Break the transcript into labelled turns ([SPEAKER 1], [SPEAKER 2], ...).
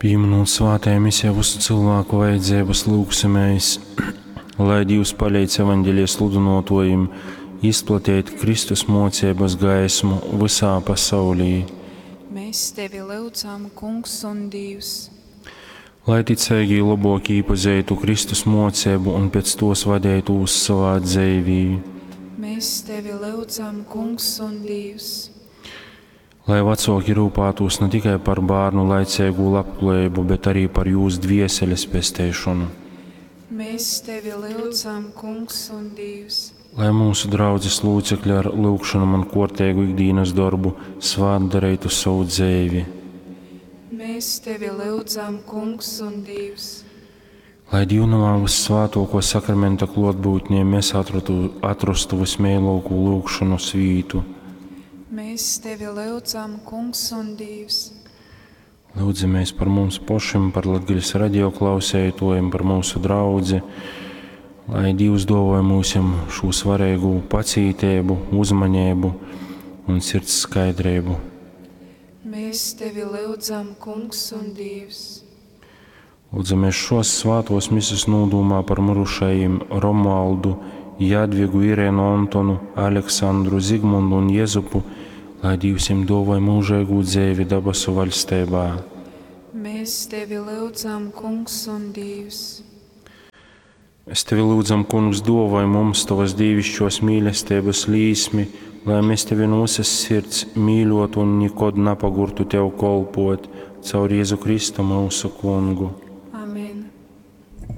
[SPEAKER 1] Pīminūt svātajā misē visu cilvēku vajadzības, lūgsimies, lai Dievs palīdz evaņģelija sludynuotuojim izplatīt Kristus mocības gaismu visā pasaulī.
[SPEAKER 2] Mēs tevi lyudzam, Kungs un Dievs.
[SPEAKER 1] Lai ticēgī labok īpazeitu Kristus mocību un pēc tos vadētūs savā dzeivī.
[SPEAKER 2] Mēs tevi lyudzam, Kungs un Dievs.
[SPEAKER 1] Lai vecāki rūpētos ne tikai par bērnu laicīgu labklājību, bet arī par jūs dvieseles pesteišanu.
[SPEAKER 2] Mēs tevi lyudzam, Kungs un Dievs.
[SPEAKER 1] Lai mūsu draudzes locekļi ar lūgšanu un kortēgu ikdienas darbu svātdarītu savu dzīvi.
[SPEAKER 2] Mēs tevi lyudzam, Kungs un Dievs.
[SPEAKER 1] Lai Dievnamā vissvētāko sakramenta klotbūtnē mēs atratu, atrastu vismīļāko lūgšanu svītu.
[SPEAKER 2] Mēs tevi lyudzam, Kungs un Dievs.
[SPEAKER 1] Lūdzamies par mums pašiem, par Latgales radio klausētojiem, par mūsu draudzi, lai Dievs dāvāja mūsim šo svarīgu pacītību, uzmanību un sirds skaidrību.
[SPEAKER 2] Mēs tevi lyudzam, Kungs un Dievs.
[SPEAKER 1] Lūdzamies šos svātos mises nūdūmā par mirušajiem Romualdu, Jadvigu, Irēnu Antonu, Aleksandru, Zigmundu un Jezupu, lai Dievs viņiem dāvāja mūžīgu dzīvi dabasu valstībā.
[SPEAKER 2] Mēs tevi lyudzam, Kungs un Dievs.
[SPEAKER 1] Es tevi lūdzam, Kungs, dāvāj mums tavas dievišķos mīlestības līsmi, lai mēs tevi no visas sirds mīļotu un nekad nepagurtu tev kolpot caur Jēzu Kristu mūsu Kungu.